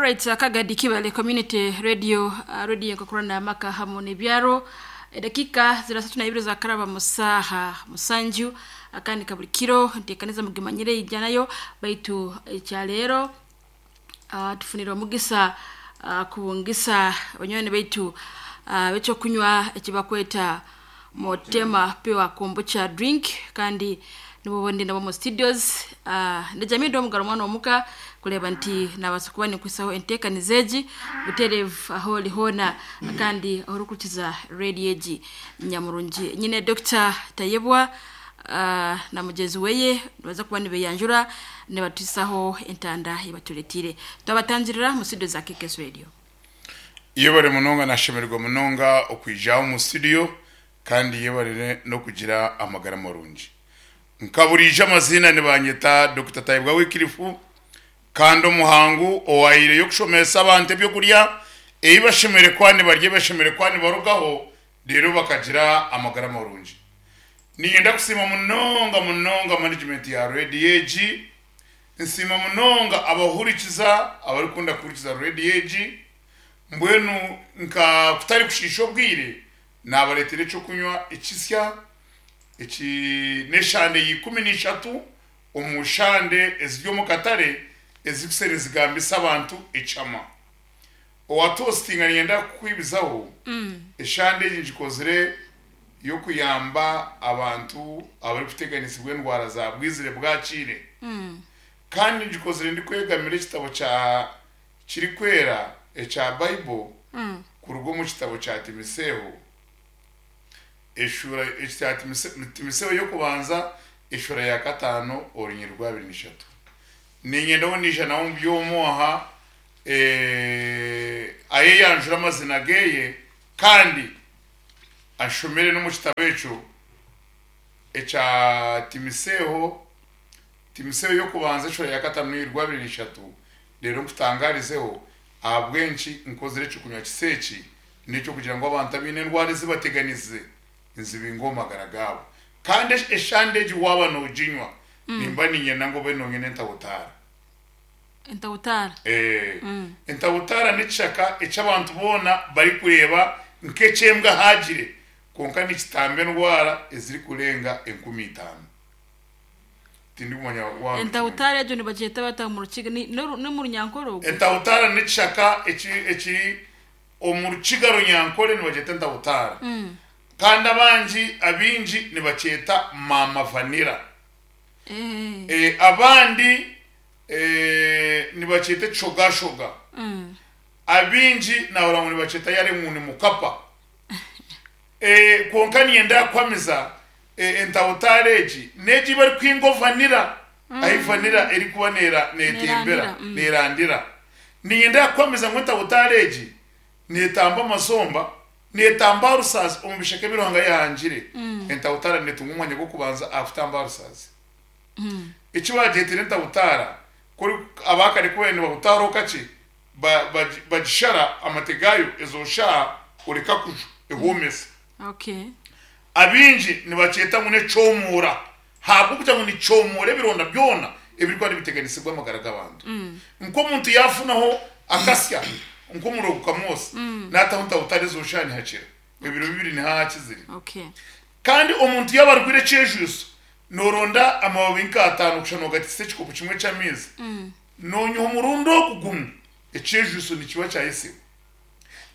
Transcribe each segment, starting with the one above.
Alright, Kagadi Kibale Community Radio, radio enkokurana amaka hamu n'ebyaro. Edakika zira 32 za karaba musaha musanju akandi kabuli kiro nteekaniza mugimanyire ijanayo baitu ekyaleero tufunire omugisa kubungisa banywani baitu bekyokunywa ekibakweta Motema Pure Kombucha Drink kandi nibo ndi nabo mu studios. Ndejamii ndi omugaro mwana omuka kureeba nti nabaasa kuba ninkwisaho enteekaniza egi butereevu ahu ori hoona kandi ahu orikurikiza radio egi nyamurungi. Nyine Dokita Tayebwa na mugyenzi weye nibaza kuba nibeyanjura nibatuhisaho entanda ei batureeteire. Twabatangirira omu studio za KKS Radio. Yebare munonga nashemererwa munonga okwija aha omu studio kandi yebare n'okugira amagara marungi. Nka buriijo amaziina nibanyeta Dokita Tayebwa Wycliffe kandi omuhangu owahaireyo kushomesa abantu ebyokurya ebi bashemereire kuba nibarya ebi bashemereire kuba nibarugaho reero bakagira amagara marungi. Niinyenda kusiima munonga munonga management ya radio egi, nsiima munonga abahurikiza abarikukunda kuhurikiza radio egi, mbwenu nka kutari kushiisha obwire naabareetera eky'okunywa ekisya eki n'eshande ya 13 omu shande eziri omu katare ezirikuseera nizigambisa abantu ekyama. Owa toastinga niinyenda kukwibizaho, eshande egi ngikozire y'okuyamba abantu abarikuteganisibwa endwara za bwizire bwakiire. Kandi ngikozire ndikwegamira ekitabo kya kirikwera ekya Bible kuruga omu kitabo kya Timiseeho, eshuura ekya Timiseeho y'okubanza eshuura ya kataano orunyiriri rwa 23. Niinyenda ou naija nawe omu by'omwoha ayeyanjure amazina geye kandi anshomere n'omu kitabo ekyo ekya Timiseeho, Timiseeho y'okubanza eshuura ya kataano n'orunyiriri rwa 23, reero nkutangarizeho ahabw'enki nkozire eky'okunywa kisa eki, n'eky'okugira ngu abantu abaine endwara ezibateganize nzibinge omu magara gaabo. Kandi eshande egi waaba nooginywa, nimba niinyenda ngu obe noonywa n'entahutaara. Entahutaara? Ee. Entahutaara n'ekishaka eki abantu boona barikureeba nk'eky'embwa ehaagire, kwonka nikitamba endwara ezirikurenga 5000. Tindikumanya waaba nokimanya. Entahutaara egyo nibagyeta bata omu Rukiga? Ni n'omu Runyankore ogwo? Entahutaara n'ekishaka ekiri omu Rukiga Runyankore nibagyeta entahutaara. Kandi abangi abaingi nibakyeta maama vanilla. Abandi nibakyeta ekishogashoga. Abaingi nahurira ngu nibakyeta yare ngu ni mukapa. Kwonka niinyenda kuhamiza entahutaara egi n'egi ei barikuhinga vanilla, ahu vanilla erikuba neetembera, neerandira. Niinyenda kuhamiza ngu entahutaara egi neetamba amazomba, neetamba aha rusaazi omu bishaka ebi Ruhanga yaahangire. Entahutaara neetunga omwanya gw'okubanza aha kutamba aha rusaazi. Eki baagyeteire entahutaara, ku abaakare ku baabaire nibahutaaraho kakye, bagishara amate gaayo ezo shaaha oreka kujwa ehoomesa. Abaingi nibakyeta ngu n'ekyomuura ahabw'okugira ngu nikyomuura ebironda byona ebirikuba nibiteganisibwa amagara g'abantu. Nk'omuntu yaafunaho akasya nk'omuriro gukamwosa, naataho ntahutare ezo shaaha nihakira, ebiro bibiri nihahakizire. Kandi omuntu yaaba arwaire ekyejwiso, nooronda amababi nk'ataano kusha noogatiisa ekikopo kimwe ky'amaizi, Noonywa omurundi ogu gumwe, ekyejwiso nikiba kyayetsibwa.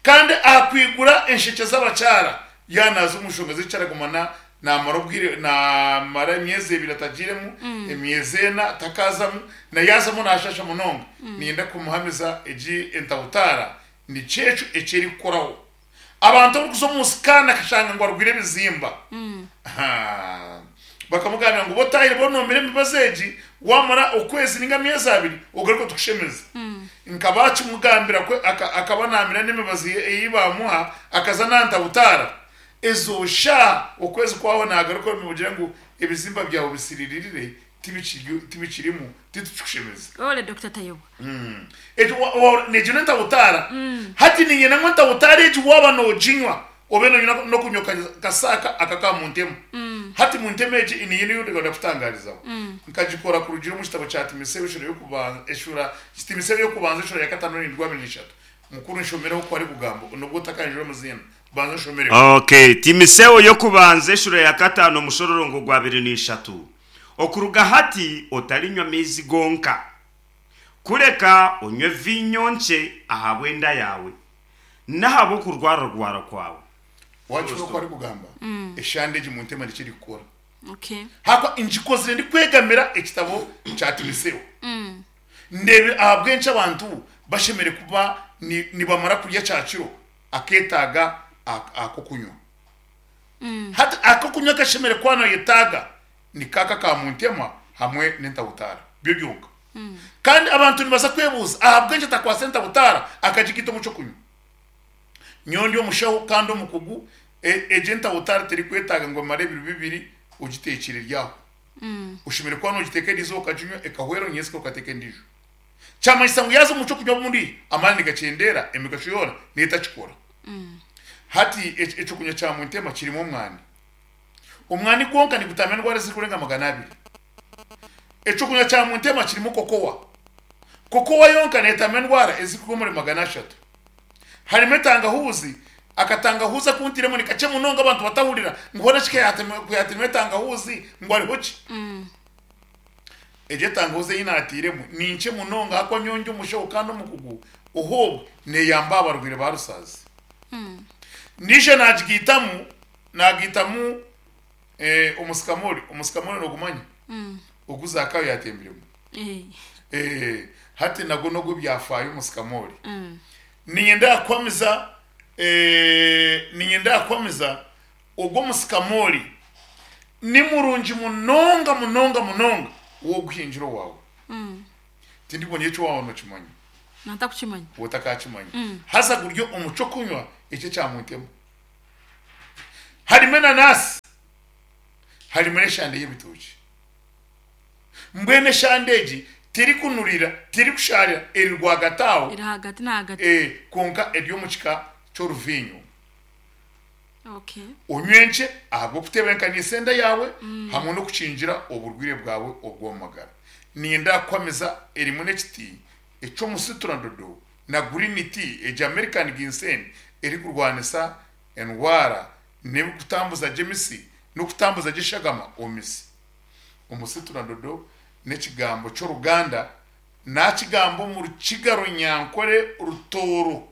Kandi aha kwigura enshekye z'abakyara, yaaba naaza omu nshonga z'ekikyara aguma naamara obwire, naamara emyezi ebiri atagiiremu, emyezi ena takaazamu, na yaazamu naashaasha munonga. Niinyenda kumuhamiza egi entahutaara nikyo ekyo eki erikukoraho. Abantu abarikuza omu sikaani akashanga ngu arwaire ebizimba. Haa. Bakamugambira ngu b'otaahire bonomire emibazi egi, waamara okwezi ninga ameezi abiri ogaruke tukushemeze. Nka baakimugambira ku akaba naamira n'emibazi ei baamuha akaza nantahutaara. Ezo shaaha okwezi kwahwa naagaruka nibamugira ngu ebizimba byawe bisiriirire tibikirimu titukikushemeza. Ole Dokita Tayebwa. Egyo egyo n'entahutaara. Hati niinyenda ngu entahutaara egi waaba nooginywa obe noonywa n'okunywa kasaaka aka aka muntemu. Hati muntema egi niyo niyo ndikwenda kutangarizaho. Nkagikora kurugira omu kitabo kya Timotheo eshura y'okubanza eshura Timotheo y'okubanza eshura ya katano n'endwi abiri n'ishatu. Mukuru nshomereho oku arikugamba nobwo otakanjura omuziina banza onshomereho. Okay, Timotheo y'okubanza eshura ya katano omushororongo gwa abiri n'ishatu. Okuruga hati otarinywa maizi gonka, kureka onywe viinyo nkye ahabw'enda yaawe, n'ahabw'okurwararwara kwawe. Wakihurira oku arikugamba? Eshande egi muntema nikyo erikukora. Okay. Ahakuba ngikozire ndikwegamira ekitabo kya Timotheo. Ndeebire ahabw'enki abantu bashemereire kuba nibamara kurya kyakiro akeetaaga ak'okunywa. Hati ak'okunywa akashemereire kuba nayetaaga ni kaaka ka muntema hamwe n'entabutaara byo byonka. Kandi abantu nibaza kwebuuza ahabw'enki atakwatsa entabutaara akagigaita omu ky'okunywa. Nyowe ndi omushaho kandi omukugu, egyo entabutaara terikwetaaga ngu emare ebiro bibiri ogiteekire eri aho. Oshemereire kuba nogiteeka eriizooba okaginywa ekahwera onyensya okateeka endiijo. Kyamanyisa ngu yaaza omu ky'okunywa obundi amaani nigakyendeera emigasho yoona neetakikora. Hati eky'okunywa kya Muntema kirimu omwani. Omwani gwonka nigutamba endwara ezirikurenga 200. Eky'okunywa kya Muntema kirimu kokowa. Kokowa yonka neetamba endwara ezirikuruga omuri 300. Harimu etangahuuzi, akatangahuuzi aku ntairemu ni kakye munonga abantu batahurira ngu hoona shi ku yaateiremu etangahuuzi ngu hariho ki? Egyo etangahuuzi ei naatairemu ni nkye munonga ahakuba nyowe ndi omushaho kandi omukugu, ohoobwe neeyamba aha barwaire ba rusaazi. Naija naagigaitamu, naagaitamu omusikamori, omusikamori noogumanya? Ogu Zaakayo yaatembiremu. Hati nagwo n'ogw'ebyafaayo omusikamori. Niinyenda kukuhamiza, niinyenda kukuhamiza ogwo omusikamori ni murungi munonga munonga munonga w'oguhingira owaawe. Tindikubona eki waaba nookimanya. Ntakukimanya. Otakakimanya. Haza guri omu ky'okunywa eki ekya Muntema. Harimu enanaasi, harimu n'eshande y'ebitookye. Mbwenu eshande egi terikunurira, terikushaarira, eri rwagati aho. Eri ahagati n'ahagati. Kwonka eri omu kika ky'oruviinyo. Okay. Onywe nkye ahabw'okutebeekanisa enda yaawe hamwe n'okukingira oburwaire bwawe obw'omu magara. Niinyenda kukuhamiza erimu n'ekiti eky'omusituradodo na green tea egi American ginseng erikurwanisa endwara n'ebirikutambuza gye emisi n'okutambuza gye eshagama omu misi. Omusituradodo n'ekigambo ky'oruganda naakigamba omu Rukiga Runyankore Rutooro.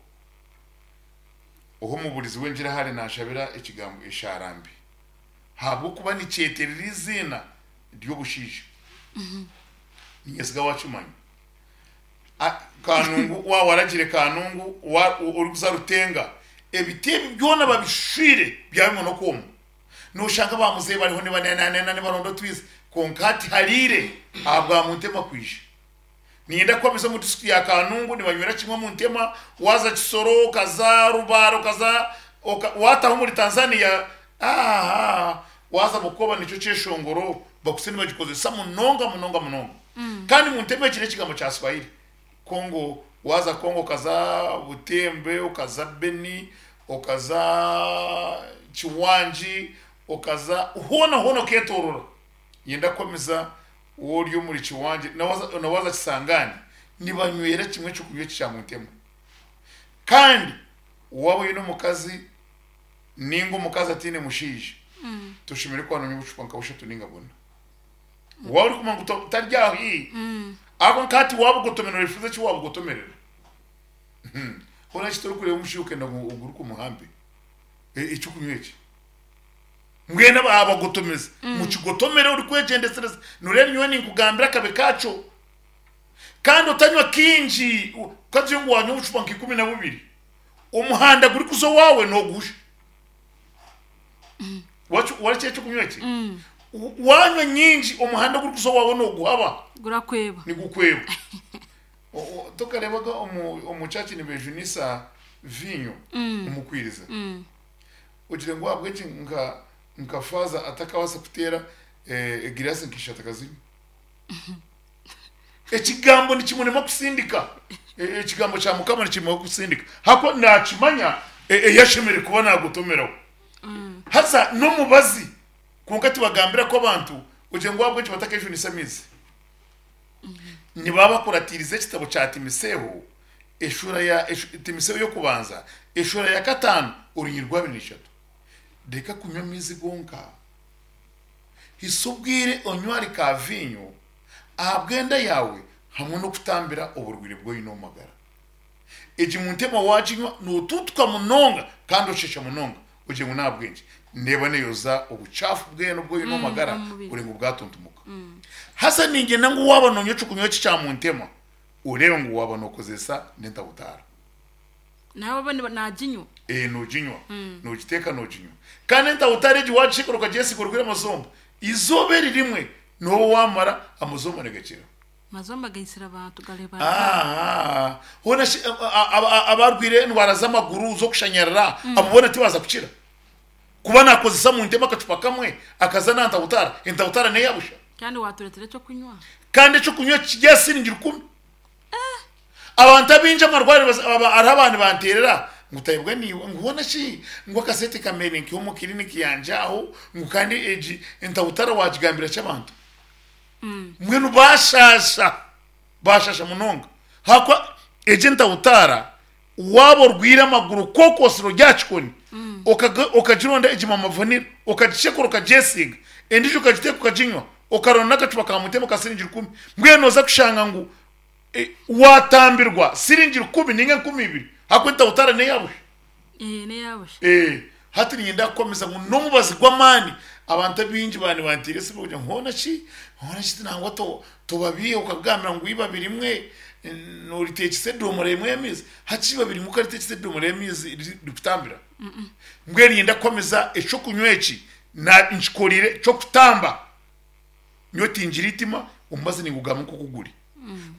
Ohu omuburizi w'engiri ahari naashabira ekigambo eshaara mbi ahabw'okuba nikyeterera eiziina ry'obushaija. Niinyesiga waakimanya. Kanungu waaba waragire Kanungu orikuza Rutenga, ebiti ebi byona babishwire byabimwe n'okwoma. Nooshanga ba muzeeyi bariho nibanenanena nibaronda otwizi kwonka hati hariire ahabwa Muntema kwija. Niinyenda kuhamiza omu disiturikiti ya Kanungu nibanywera kimwe omu ntema, waaza Kisoro, okaza Rubare, okaza waataha omuri Tanzania, aaha waaza Bukoba nikyo kyeshongoro bakutsire nibagikozesa munonga munonga munonga. Kandi omu ntema egi n'ekigambo kya Swahili. Congo, waaza Congo okaza Butembe, okaza Beni, okaza Kiwangi, okaza hoona hoona okeetoorora. Niinyenda kuhamiza Waaba ori omuri Kiwangye na waaza Kisangani nibanywera kimwe ekyokunywa eki kya Muntema. Kandi waaba oine omukazi ninga omukazi ataine mushaija toshemereire kuba nonywa obucupa nka bushatu ninga buna. Waaba orikumanya ngu tari aho haihi ahabw'okuba nka hati waabugotomerera oyefuuza eki waabugotomerera. Hoona shi torikureeba omushaija okenda ngu oguruke omuhambe ekyokunywa eki. Mbwenu abagotomezi mukigotomere orikwegyendesereza. Noreeba nyowe ninkugambira akabi kakyo. Kandi otanywa kingi, kagire ngu wanywa obucupa nka 12, omuhanda gurikuza owaawe noguhusha. Warekye ekyokunywa eki? Wanywa nyingi omuhanda ogurikuza owaawe noguhaba. Gurakweba. Nigukweba. Tokareebaga omu church nibejunisa viinyo omu kwiriza? Ogire ngu ahabw'enki nka nka faaza atakabaasa kuteera egiraasi nka ishatu akazinywa? Ekigambo nikimurema kusindika. Ekigambo kya Mukama nikimurema kusindika. Ahakuba naakimanya ei ashemereire kuba naagotomeraho. Haza n'omubazi. Kwonka tibagambira ku abantu ogire ngu ahabw'enki batakejunisa amaizi. Nibaba bakuratiirize ekitabo kya Timiseeho eshuura ya Timiseeho y'okubanza eshuura ya kataano orunyiriri rwa abiri n'ishatu. Reka kunywa amaizi gonka. Hisa obwire onywe ahari ka viinyo ahabw'enda yaawe hamwe n'okutambira oburwaire bwu oine omu magara. Egi muntema waaginywa nootuutuka munonga kandi oshesha munonga ogire ngu n'ahabw'enki. Neeba neeyoza obucaafu bwena obu oine omu magara ore ngu bwatuntumuka. Haza niinyenda ngu waaba noonywa eky'okunywa eki kya muntema oreebe ngu waaba nookozesa n'entabutaara. Nawe obe naaginywa. Ee, nooginywa. Noogiteeka nooginywa. Kandi entabutaara egi waagishekera okagyesiiga orwaire amazomba, eizooba eri rimwe nooba waamara amazomba nigakira. Mazomba gaitsire abantu gareeba Aaha. Hoona shi abarwaire endwara z'amaguru z'okushanyarara abo boona tibaza kukira? Kuba nakozesa muntema akacupa kamwe akaza na ntabutaara, entabutaara neya busha? Kandi waturetera ekyokunywa. Kandi ekyokunywa kiri aha siringi rukumi. Abantu abaingi amarwariro hariho aba nibanteerera ngu Tayebwa niiwe ngu hoona shi ngu akasente kambeire nkiha omu kiriniki yangye aho ngu kandi egi entabutaara wagigambira ki abantu? Mbwenu baashaasha, baashaasha munonga. Ahakuba egyo entahutaara waaba orwaire amaguru kookoosire ori aha kikoni, okagironda egi mama vanilla, okagishekura okagyesiiga, endiijo okagiteeka okaginywa, okaronda n'akacupa ka mutembe ka siringi rukumi, mbwenu nooza kushanga ngu waatambirwa siringi rukumi nainga 2000 ahakuba entahutaara n'eya busha. Ee, n'eya busha. Ee, hati niinyenda kukuhamiza ngu n'omubazi gw'amaani. Abantu abaingi baaba nibanteera esimu kugira ngu hoona ki, hoona ki nangwa tobabiiha okagambira ngu eibabi rimwe noriteekyesa edomora emwe y'amaizi. Hati eibabi rimwe okariteekyesa edomora y'amaizi rikutambira? Mbwenu niinyenda kukuhamiza eky'okunywa eki nkikoriire ky'okutamba. Nyowe tingira eitima, omubazi ningugamba nk'oku guri.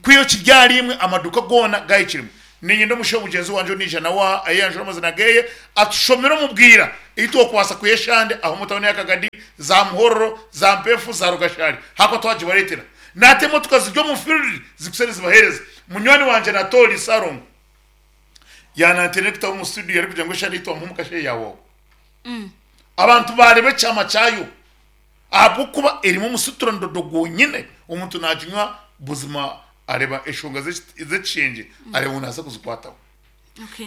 Kwiha kiri ahari imwe, amaduuka goona gahikiremu. Niinyenda omushaho mugyenzi wangye ondiijo nawe aha ayeyanjure amazina geeye, atushomere omu bwira ei twokubaasa kwiha eshande aha omu tauni ya Kagadi, za Muhororo, za Mpeefu, za Rugashari ahakuba twagibareetera. Nata emotoka ziri omu field zikutsya nizibaheereza. Munywani wangye Natooli Ssalongo yaananteerera ekitabo omu studio arikugira ngu eshande ei twamuha omu kasheeshe yaahwaho. Abantu baareeba ekyama kyayo. Ahabw'okuba erimu omusuturandodo gwonyine, omuntu naaginywa buzima areeba enshonga z'ekishengye areeba ngu naaza kuzikwataho.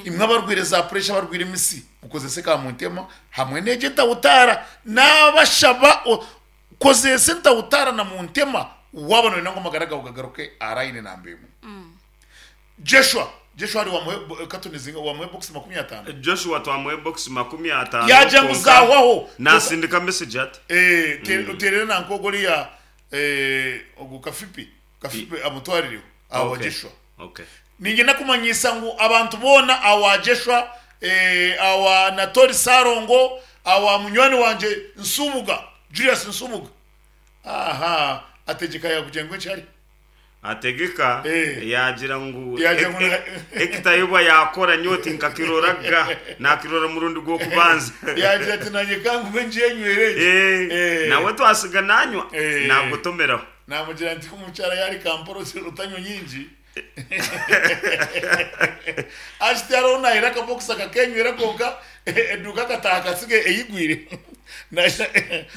Imwe abarwaire za puresha, abarwaire emisi, mukozese ka muntema hamwe n'egyo entahutaara. Naabashaba kozesa entahutaara na muntema waaba nooyenda ngu amagara gaawe gagaruke aha rayini namba emwe. Joshua, Joshua hari wamuhe katoni zinga wamuhe box 50? Joshua twamuhe box 50 Yagira ngu kwonka zahwaho. nasindika message ati. Eh, terera nanka ogwo oriya eh, ogwo Kafipi, Kafipi amutwarireho awa Okay. Joshua. Okay. Niinyenda kumanyisa ngu abantu boona awa Joshua, eh, awa Natori Sarongo, awa munywani wangye Nsubuga, Julius Nsubuga. Aha, ategyeka yakugira ngu enki hari? Ategeka Eh. yaagira ngu Yaagira ngu eki Tayebwa yaakora nyowe tinkakiroraga, naakirora omurundi gw'okubanza. Yaagira ati nanye ka ngume ngyenywere egi. Eh, Eh. nawe twasiga nanywa Eh. nagotomeraho. Naamugira nti omukyara yaari Kampala otanywa nyingi. Hati tihariho naahira akabokisi akakenywera kwonka eduuka akataaha akasiga eyigwire.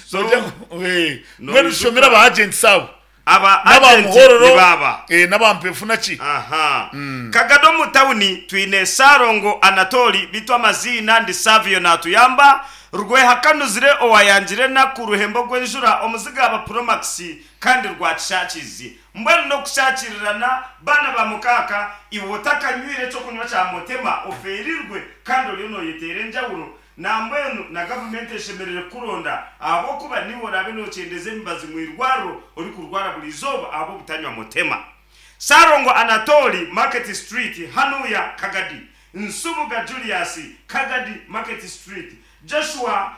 So, Nogira ngu, eh, mbwenu noijuka- tushomere aba agents abo. Aba N'aba agent Muhororo, nibaaba. eh, n'aba Mpefuna ki? Aha. Kagado omu tawuni twine Ssalongo Anatoli beitu amaziina ndi Savio Natuyamba, Rwehakanuzire owayangire enaku Ruhembo gw'enjura omuziga Promax kandi Rwakishakizi. Mbwenu n'okushakirirana baana ba mukaaka iwe otakanywire ekyokunywa kya Motema ofeerirwe kandi oriyo noyeteera enjawulo Nambwenu na gavumenti eshemerire kukuronda ahabw'okuba niiwe oraabe nookyendeza emibazi mu irwariro orikurwara buri izooba ahabw'obutanywa mutema. Ssalongo Anatoli, Market Street, Hanuya, Kagadi, Nsubuga Julius, Kagadi, Market Street, Joshua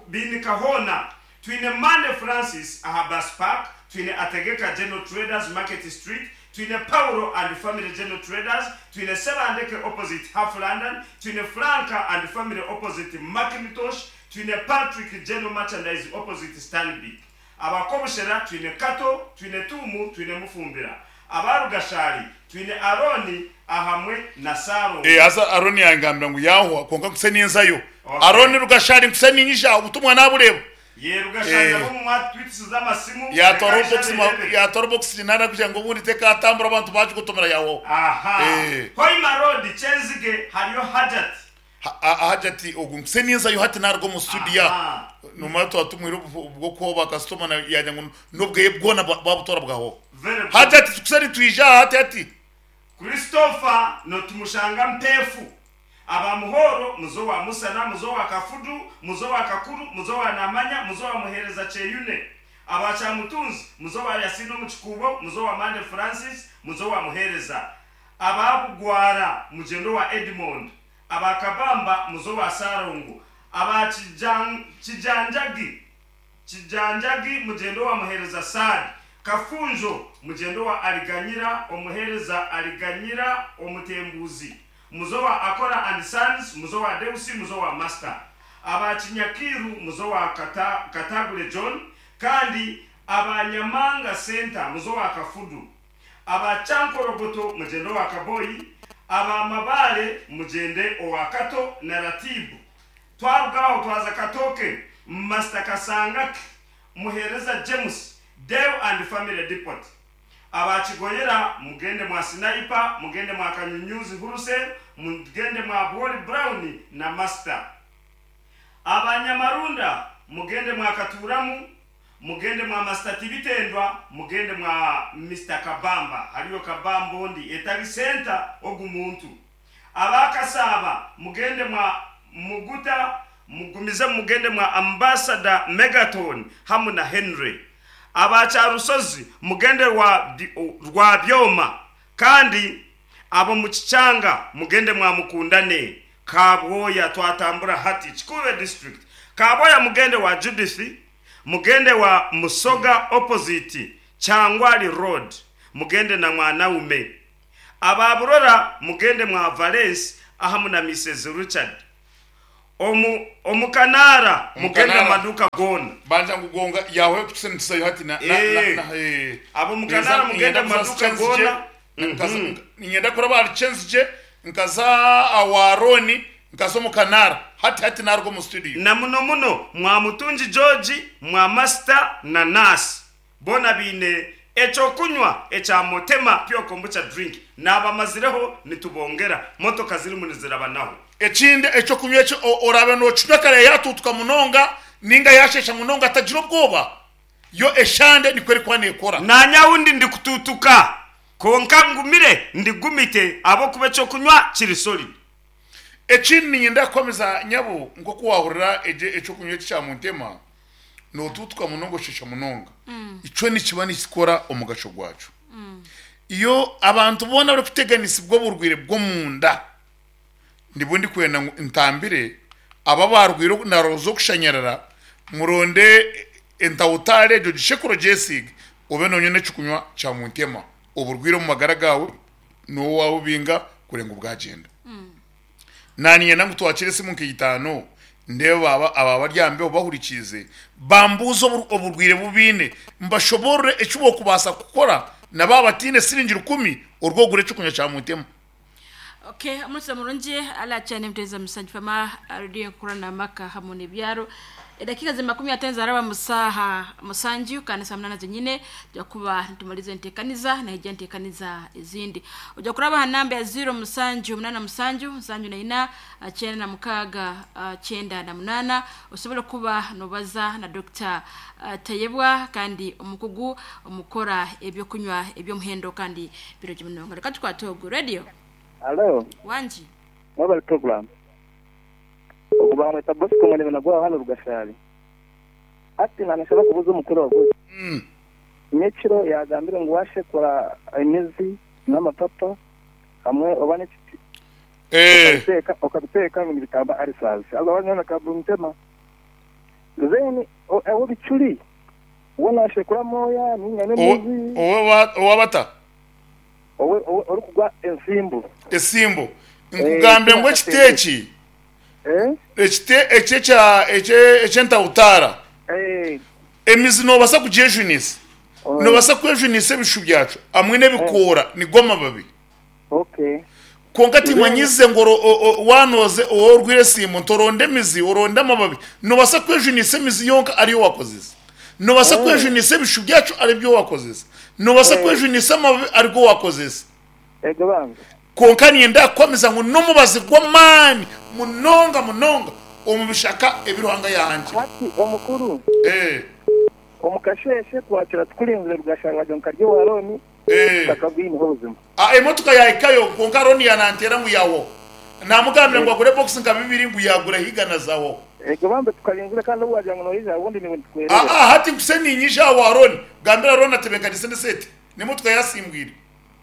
Biinikahoona, Twine Mande Francis aha Bus Park, twine Ategeka General Traders Market Street, twine Paulo and Family General Traders, twine Sebandeke opposite Half London, twine Franka and Family opposite Mackintosh, twine Patrick General Merchandise opposite Stanbic. Aba Kobushera twine Kato, twine Tuumu, twine Mufumbira. Aba Rugashari twine Arooni ahamwe na Saalongo. Eh, haza Arooni yangambira ngu yaahwa, kwonka nkuse ninzayo. Okay. Arooni Rugashari nkuse niinyija, obutumwa naabureeba. Ye Rugashanja bo mwatwitisiza amasimu Yatwara reka obubokisi eshare erebe. yatwara obubokisi nana kugira ngu obundi tekatambura abantu bagikotomera yaho. Aha. Hoima Road Kyenzige hariyo Hajat. Hajati ogu nkuse ninzayo hati naruga omu studio Aha. numara twaba tumwire obwokuha ba kasitoma yagira ngu n'obweye bwona babutwara bwahoho. Very good. Hajati tukuse nitwija aha hati hati. Christopher notumushanga Mpefu. Aba Muhoro, muzo wa Musana, muzo wa Kafudu, muzo wa Kakuru, muzo wa Namanya, muzo wa Muhereza Kyeyune. Aba Kyamutunzi, muzo wa Yasino Mukikubo, muzo wa Mande Francis, muzo wa Muhereza. Aba Bugwara, mugyendo wa Edmond. Aba Kabamba, muzo wa Sarongo. Aba Kijanjagi, Kijanjagi, mugyendo wa Muhereza Saad. Kafunjo, mugyendo wa Aliganyira, omuhereza Aliganyira, omutembuzi. Muzo wa Akora and Sons, muzo wa Deusi, muzo wa Master. Aba Kinyakiru, muzo wa Katagule John, kandi aba Nyamanga Center, muzo wa Kafudu. Aba Chankorogoto, mugyendo wa Kaboyi. Aba Mabale, mugyende owa Kato na Ratibu. Twarugaho twaza Katoke, Master Kasangaki, Muhereza James, Deo and Family Depot. Aba Kigoyera, mugende mwa Sniper, mugende mwa Kanyunyuzi Huruse, mugende mwa Boli Brown na Master. Aba Nyamarunda, mugende mwa Katuramu, mugende mwa Master Tibitendwa, mugende mwa Mr. Kabamba, hariyo Kabamba ondi etali center ogumuntu. Aba Kasaba, mugende mwa Muguta, mugumize mugende mwa Ambassador Megaton hamu na Henry. Aba Kyarusozi, mugende rwa Byoma, kandi abo mu Kichanga mugende mwa Mukundane. Kabwoya twatambura hati Kikuube district. Kabwoya mugende wa Judith, mugende wa Musoga opposite Kyangwali Road, mugende na Mwanaume. Aba Burora mugende mwa Valence ahamu na Mrs Richard. Omukanara mugende Omukanara. maduka gona. Banja ngugonga yawe kusendisayo hati na, na, na, na, Abo mukanara mugende maduka gona. Ninyenda kuraba ari Chenzije, nkaza awaroni, nkaza omukanara. Hati hati naruga mu studio. Na muno muno mwa Mutungi George, mwa Master na Nurse. Bona bine echo kunywa echa motema pure kombucha drink. Nabamazireho nitubongera motoka ziri munizirabanaho. Ekindi echo kunywa echo orabe no kinywa kare yatutuka munonga ninga yashesha munonga atagira ubwoba. Yo eshande ni kweri kwane ekora. Nanya wundi ndi kututuka. Konka ngumire ndigumite abo kube cyo kunywa kiri solid. Ekindi ninyenda kwameza nyabo nko kuwahurira eje echo kunywa cya muntema. No tutuka munongo shesha munonga. Ico ni kiba nisikora omugasho gwacu. Iyo abantu bona bari kuteganisa ubwo burwire bwo munda. Ndibundi kwenda ngo ntambire aba barwire na rozo kushanyarara muronde entawutare jo gishekuro jesig obe nonye necukunywa cya muntema oburwire mu magara gawe no wawe binga kurenga ubwagenda. Naniye nangu twakire simu nk'itano ndeba baba aba baryambe bahurikize bambuzo oburwire bubine mbashobore ecubo kubasa gukora na baba tine siringira 10 urwogure cukunywa cya muntema. Okay, omusa murungi ala cyane muteza musanji fama radio kurana maka hamwe n'ibyaro. Edakika za 15 zaraba musaha musanji kana saa 8 zenyine ja kuba tumalize ntekaniza na hija ntekaniza izindi. Uja kuraba namba ya 0 musanji 8 musanju musanju na ina 9 6 98 usobora kuba nobaza na Dr. Tayebwa kandi omukugu omukora ebyo kunywa ebyo muhendo kandi biro jimunongo. Reka twatogo radio. Hello. Wanji. Mobile program. Okuba mweta Bosco mwene nagwa hano Rugashari. Ati nanashaka kubuza umukuru waguye. Nyekiro yagambire ngo washe kora imizi n'amapapa hamwe obane okabiteka ngo bitamba ari sazi. Abo banyana kabumtema. Zeni awo bicuri. Wona shekura moya ninyane mizi. Owa bata. Owe ori kugwa ensimbu. Esimbu. Nkugambe ngo ekiteki. Ekite echecha echenta utara. Emizi no basa kujejunisa. No basa kwejunisa ebishu byacu. Amwe nebikora ni goma babi. Okay. Kwonka timanyize ngu waanoze ou orwire esiimu nti oronde emizi, oronde amababi. Noobaasa kwejunisa emizi yonka ariyo waakozesa. Noobaasa kwejunisa ebishu byakyo aribyo waakozesa. Noobaasa kwejunisa amababi arigo waakozesa. Kwonka niinyenda kukuhamiza ngu n'omubazi gw'amaani munonga munonga omu bishaka ebi Ruhanga yaahangire. Hati omukuru, omu kasheeshe twakira tukurinzire Rugashara nka ryo owa Rooni. Takabwineho obuzima. A Emotoka yahikayo kwonka Ronnie yananteera ngu yaahwaho. Namugambira ngu agure box nka bibiri ngu yaagura higa na zahwaho. Ego bambe tukarinzire kandi obu wagira ngu noija obundi niiwe nitukwererera. Aa hati nkuse niinyija aha wa Ronnie. Gambira Ronnie atebenkanise n'esente n'emotoka yasimbwire.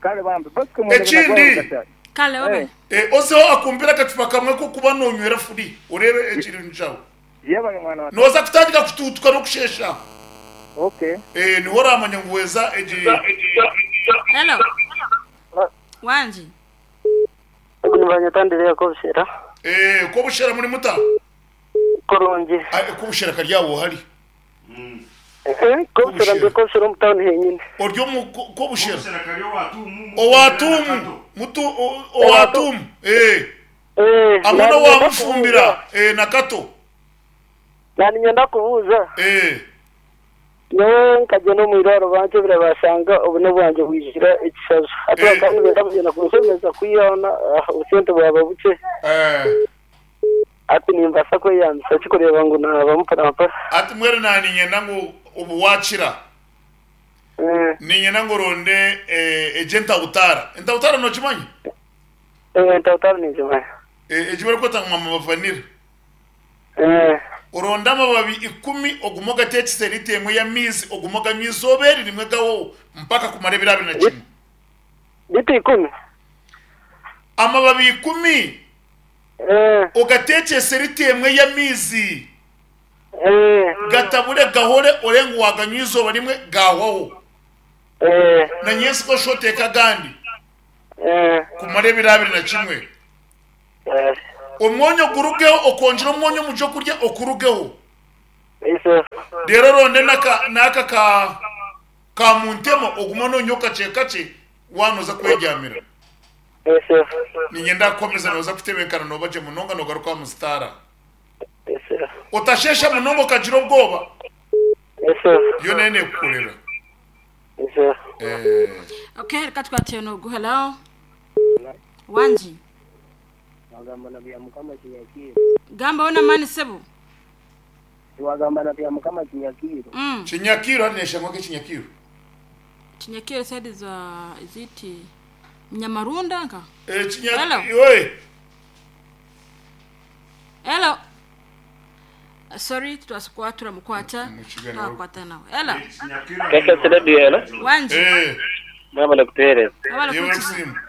Kale bambe Bosco mwendebe na Ekindi. gwawe Rugashari. Kale wabare. Eh. Ozeho akumpire akacupa kamwe k'okuba nonywera free oreebe ekiri njaho. Yebare mwana wa tata. Noza kutandika kutuutuka n'okusheesha. Okay. Eh, niho oramanya ngu weza egi. Hello. Wangi. Ogu nibanyeta Andereya Kobushera. Eh, Kobushera muri muta? Kurungi. Ah, Kobushera kari aho hari. Eh, Kobushera ndi Kobushera omu town henyine. Ori omu Kobushera. Kobushera kari owatuumu. Owatuumu. Mutu owatuumu. Eh. Eh, Hamwe n'owamufumbira. Eh, na Kato. Naninyenda kubuuza. Eh. Nyowe nkagyenda omu irwariro bankyebera bashanga obune bwangye bwijire ekishajo. Hati bakaba nibenda kugyenda kunshemeza kwihaho obusente bwaba bukye. Hati nimbaasa kweyambisa ki kureeba ngu naaba mpora mpora? Hati mbwenu naninyenda ngu obu wakira, niinyenda ngu oronde egyo entabutaara. Entabutaara nokimanya? Entabutaara ningimanya. Egi barikweta ngu mama vanilla. Oronde amababi ikumi ogume ogateekise liita emwe y'amaizi ogume oganywe eizooba eri rimwe gahoho mpaka kumara ebiro 21. Liita ikumi? Amababi ikumi ogateekyese liita emwe y'amaizi gatabure gahore orebe ngu waaganywa eizooba rimwe gaahwaho. Na nyentsya oshushe oteeke agandi kumara ebiro 21. Omwonyo gurugeho okongyera omwonyo omu by'okurya okurugeho. Reero oronde n'aka ka ka muntema ogume nonywa kakye kakye waaba nooza kwebyamira. Niinyenda kukuhamiza nooza kutebenkana nooba gye munonga noogaruka aha musitaara. Otasheesha munonga okagira obwoba. Yoona ei neekukorera. Okay, reka tukwate n'ogu. Hello. Wangi. Wagamba na Byamukama Kinyakiiro. Gambaho n'amaani sebo. Wagamba na Byamukama Kinyakiiro. Kinyakiiro hati neshangwa nk'ekinyakiiro. Kinyakiiro side za is it Nyamarunda nka? Ekinya Hello. Oye. Hello. Sorry tutwasa turamukwata. Mukiganiro. Twakwata nawe. Hello. Keke Radio hello. Wangi. Mwabale kutuhereza. Wabale Yewe kutuhereza. kusiima.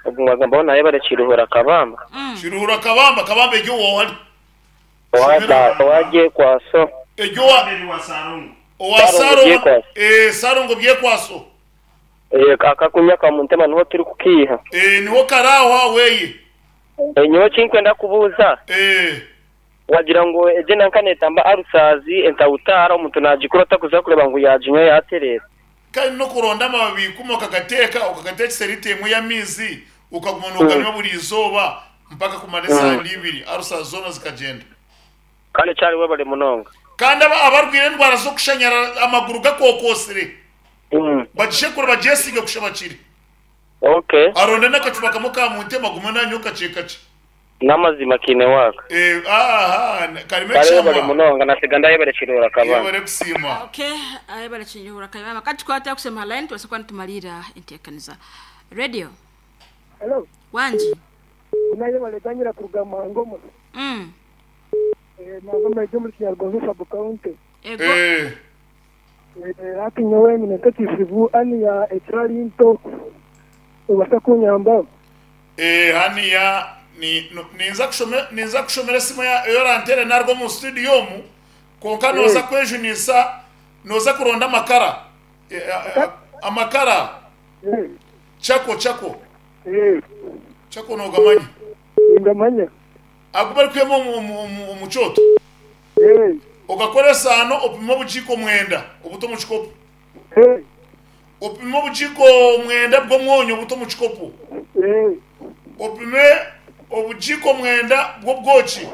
Ogu mwagamba naye bale Kiruhura Kabamba. Kiruhura Kabamba, Kabamba egyo owahari. Owada owaje kwaso. Egyo wa owa Sarongo Sarongo Byekwaso. eh Sarongo Byekwaso. Eh akakunya kamuntema niho turi kukiha. Eh niho karaho aweye. Eh nyowe kinkwenda kubuuza. Eh wagira ngu egye nanka netamba arusazi entawutara omuntu nagikura atakuza kureba ngu yaginywa yaterera. Kandi n'okuronda amababi ikumi okagateeka, okagateekesa liita emwe y'amaizi, okaguma nooganywa buri izooba mpaka kumara esaara ibiri, ulcers zoona zikagyenda. Kale kyari webale munonga. Kandi aba abarwaire endwara z'okushanyara amaguru gakookoosire, bagishekure bagyesiige kusha bakire. Okay. Aronde n'akacupa kamwe ka muntema agume nanywa kakye kakye. N'amazima kiine waaka. Eh, aha, karimu Kale webale ekishamwa. munonga nasiga ndayebare Kiruhura Kabamba. Yebare kusiima. Okay, ayebare Kiruhura Kabamba. Katukwate akusema line tuweze kuba nitumalira enteekaniza. Radio. Hello. Wangi. Naye baletanyira kuruga Mangomo. Eh Mangomo ejyo muri Kinyarwanda sub county. Ego. Eh. Eh hati nyowe nyine nk'ekizibu ani ya ekirari nto. Obasa kunyamba. Eh haniya ni no, ninza kushome ninza kushomera esimu ya eyorantere narwo mu studio omu konka noza kwejunisa noza kuronda amakara amakara chako chako chako nogamanya Ngamanya agu bari kwema omu kyoto ogakora esaano opime obukiiko mwenda obuta omu kikopo opime obukiiko mwenda bw'omwonyo obuta omu kikopo. Opime obugiiko mwenda bw'obwoki,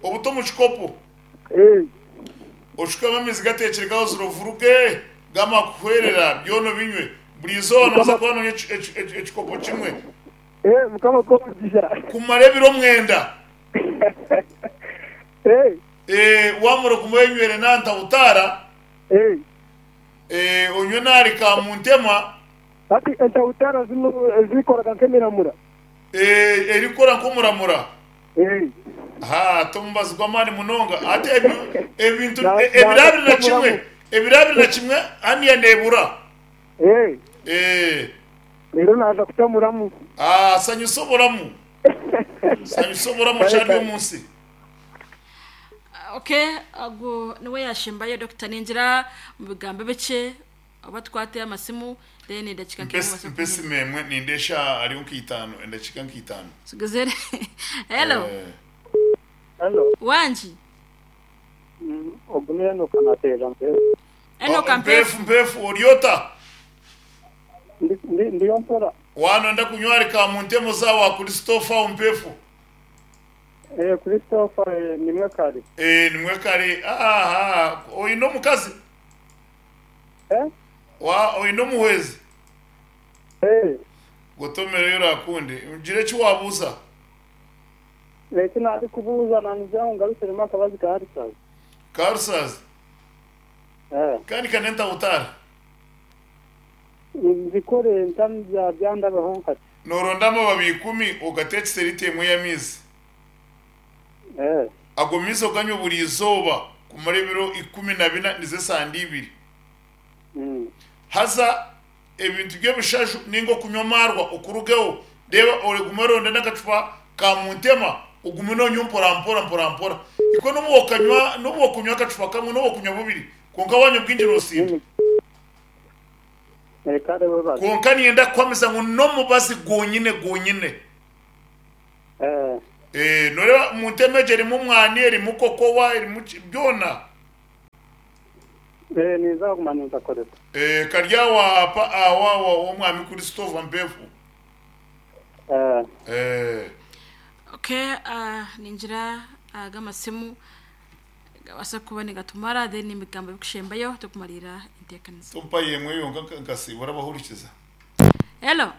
obute omu kikopo. Oshukemu amaizi gateekire gahozire ovuruge, gamara kuhwerera, byona obinywe. Buri izooba nooza kuba noonywa ekikopo kimwe kumara ebiro mwenda. Waamara ogume oyenywere na ntawutaara, onywe n'ahari kaamuntema. Hati entawutaara zinu ezikoraga nk'emiramura. Erikukora nk'omuramura. Ha, t'omubazi gw'amaani munonga. Hati ebintu ebiro abiri na kimwe, ebiro abiri na kimwe haniya neebura. Reero naaza kutamuramu. Ah, sanyusa oburamu. Sanyusa oburamu okyari omu nsi. Okay, ago niwe yashembayo Doctor ningira mu bigambo bikye Oba tukwate amasimu then edakika nke Mpa mubase mpa esimu kuhenda. emwe ninda eshaaha hariho nka itaano endakiika nka itaano. Tugezere. Hello. Eh. Hello. Wangi. Ogu ni Enoka nateerera Mpeefu. Enoka Oh, Mpeefu. Mpeefu Mpeefu ori ota? Ndi, ndi, ndiyo mpora. Waanonda kunywa ahari Kamuntemo za wa Christopher aho Mpeefu. Eh, Christopher eh, nimwe kare. Eh, nimwe kare. Aha, oine omukazi? Eh? Wa oine omuhwezi? Eh. Gotomereyo orakunde. Gira eki waabuuza. Eki naarikubuuza naanigira ngu ngarukiremu akabazi ka Ulcers. Ka ulcers? Eh. Kandi ka n'entahutaara? Nzikore nta bya byandabaho nkati. Nooronda amababi ikumi ogateekyise liita emwe y'amaizi. Eh. Ago maizi oganywe buri izooba kumara ebiro 14, nizo esande ibiri. Haza ebintu by'ebishaju nainga okunywa amaarwa okurugeho, reeba ogume oronde n'akacupa ka muntema ogume noonywa mpora mpora mpora mpora. Ikwe n'obu okanywa n'obu okunywa akacupa kamwe n'obu okunywa bubiri kwonka waanywa bwingi noosinda. Kwonka niinyenda kukuhamiza ngu n'omubazi gwonyine gwonyine. Eh, noreeba muntema egyo erimu omwani, erimu kokowa, erimu ki byona. Eh, ninza kuguma ninkakoresa. Eh, kari aho aha pa aho aho ow'omwami Christopher Mpefu. Eh. Eh. Okay, uh, ningira aga amasimu gabaasa kuba nigatumara then ebigambo ebikushembayo tukumariira enteekanisa. Tompayo emwe yonka nka nkasiibura abahurikiza. Hello.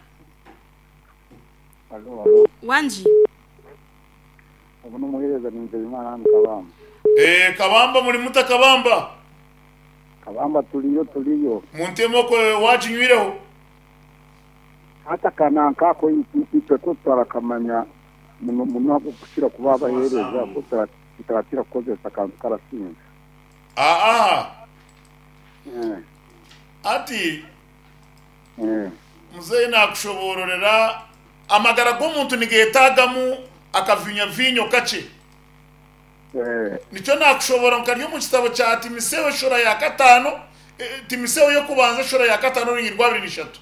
Halo, halo. Wangi. Ogu n'omuheereza ni Nzeyimana hanu Kabamba. Eeh Kabamba muri muta Kabamba? Kabamba turiyo turiyo. Muntema okwe waginywireho? Hati aka nanka ako itwe ku tutarakamanya muno muno ahabw'okukira kuba abaheereza ku tutarakira kukozesa akantu karasinga. Aaha. Eh. Hati Eh. Muzeeyi naakushoboororera amagara g'omuntu nigeetaagamu akavinyaviinyo kakye. Nikyo naakushoboora ngu kari omu kitabo kya Timotheo eshuura ya kataano, Timotheo y'okubanza eshuura ya kataano orunyiriri rwa abiri na ishatu.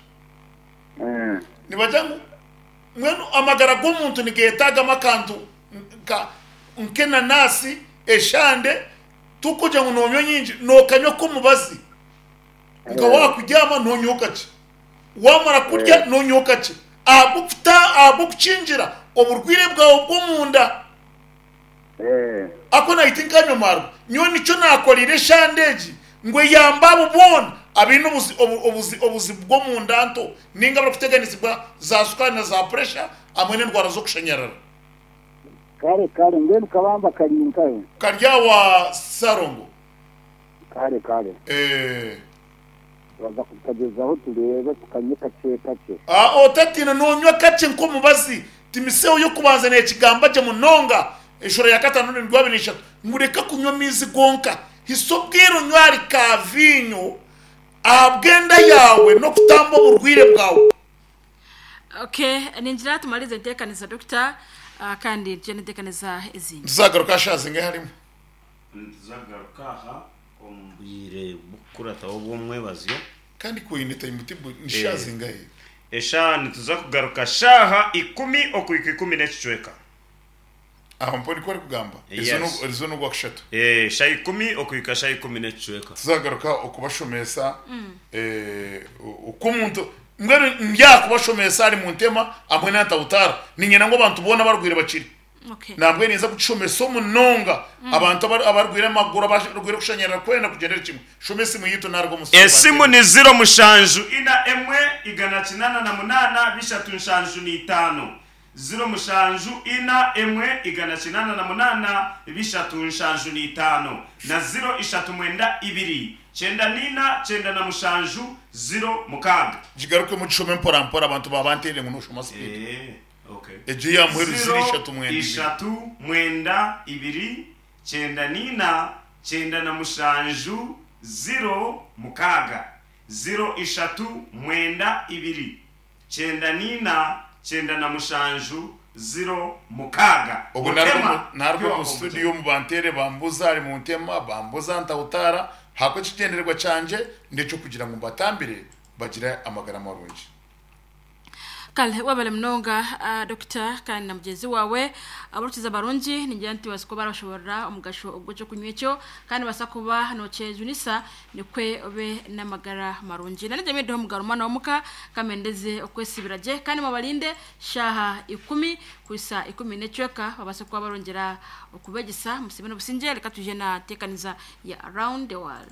Nibagira ngu mbwenu amagara g'omuntu nigeetaagamu akantu nka nk'enanaasi, eshande, tikugira ngu noonywa nyingi, nookanywa k'omubazi. Nka waakubyama noonywa kakye, waamara kurya noonywa kakye ahabw'okuta ahabw'okukingira oburwaire bwawe bw'omunda. Ako nahi tinkanywa maarwa. Nyowe nikyo naakoreire eshande egi ngu eyambe abo boona abaine obuzi obuzi obuzibu bw'omunda nto nainga abarikuteganisibwa za sukaari na za puresha hamwe n'endwara z'okushanyarara. Kare kare mbwenu kabamba kari nkahe? Kari awa Ssalongo. Kare kare. Eeh. Turaza kukagyezaho tureebe tukanywe kakye kakye. Aa otatiina nonywa kakye nk'omubazi. Timisewo y'okubanza nekigamba gye munonga eshura ya katano n'endwi abiri n'ishatu ngu reka kunywa amaizi gonka hisa obwire onywe ahari ka viinyo ahabw'enda yaawe n'okutamba oburwaire bwawe. Okay, ningira tumarize enteekanisa Dokita kandi tugye n'enteekanisa ezindi. Nituzagaruka aha shaaha zingahi harimu? Nituzagaruka aha omu bwire bw'okukurataho obw'omwebazyo. Kandi ku oine timetable ni shaaha zingahi? Eshaaha nituza kugaruka shaaha ikumi okuhika ikumi n'ekicweka. Aho mpaho nikwo arikugamba? Yes. Erizo n'Ogwakushatu. Eh, shaaha ikumi okuhika shaaha ikumi n'ekicweka. Tuzagaruka okubashomesa oku omuntu. Mbwenu ndyakubashomesa ahari Muntema hamwe na Ntawutara. Niinyenda ngu abantu boona abarwaire bakire. Okay. Nambwenu ninza kukishomesa omunonga abantu abari- abarwaire amaguru, abarwaire kushanyarara kwena kugyendere kimwe. Shoma esimu yaitu naruga omu studio Esimu banteerere. ni ziro mushanju ina emwe igana kinana na munana bishatu nshanju n'itano. Ziro mushanju ina emwe igana kinana na munana bishatu nshanju n'itano na ziro ishatu mwenda ibiri kyenda n'ina kyenda na mushanju ziro mukaaga. Gigarukemu ogishome mpora mpora abantu ba banteerere ngu noshoma speed. Eh, okay. Egyo eya muheru ziro Ziro ishatu mwenda ibiri. ishatu mwenda ibiri kyenda n'ina kyenda na mushanju ziro mukaaga. Ziro ishatu mwenda ibiri kyenda n'ina kyenda na mushanju ziro mukaaga. Obwo Mutema, naruga pure omu studio omu banteere bambuza ahari Muntema bambuza Ntawutara ahabwa ekigyendererwa kyangye n'ekyokugira ngu mbatambire bagire amagara marungi. Kale wabale munonga uh, dokita kandi na mugyenzi wawe abarukiza barungi ningira nti basa kuba barashoborera omugasho ogw'ekyokunywa ekyo kandi basa kuba nokyejunisa nikwe obe n'amagara marungi na nijye mwideho mugaro mwana w'omuka kamendeze okwesibira gye kandi mubarinde shaha ikumi kwisa ikumi n'ecweka babase kuba barongera okubegesa musibe n'obusingye reka tuje na tekaniza ya around the world.